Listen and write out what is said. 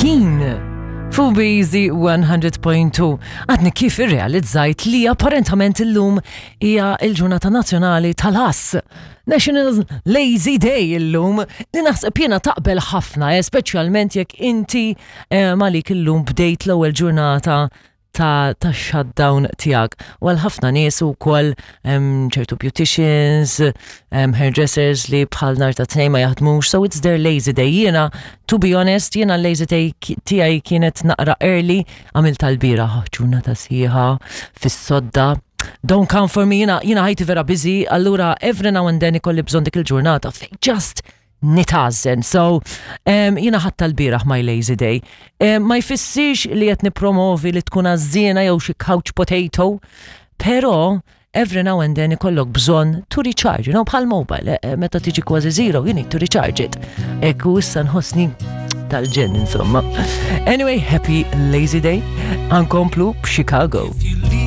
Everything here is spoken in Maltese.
Keen fuq Easy 100.2. Għadni kif irrealizzajt li apparentament illum hija il-ġurnata nazzjonali tal-ass. National Lazy Day illum li naħseb jiena taqbel ħafna, eh, speċjalment jekk inti eh, malik illum bdejt l-ewwel ġurnata ta' ta' shutdown tiegħek. U għal ħafna nies ukoll ċertu beauticians, hairdressers li bħal nar ta' tnejn ma jaħdmux, so it's their lazy day. Jiena, to be honest, jiena lazy day tiegħi kienet naqra early, għamilt tal-bieraħ ġurnata sħiħa fis-sodda. Don't come for me, jiena jiena ħajti vera busy, allura every now and then ikolli bżonn dik il-ġurnata fejn just nitgħażżen. So, um, jiena ħadd tal-bieraħ my lazy day. Um, ma jfissirx li qed nippromovi li tkun għażżiena jew xi couch potato, però every now and then ikollok bżonn to recharge, you know, bħal mobile, eh, eh, meta tiġi kważi zero, you need to recharge it. Ekku issa nħossni tal-ġen, insomma. Anyway, happy lazy day. Ankomplu b'Chicago.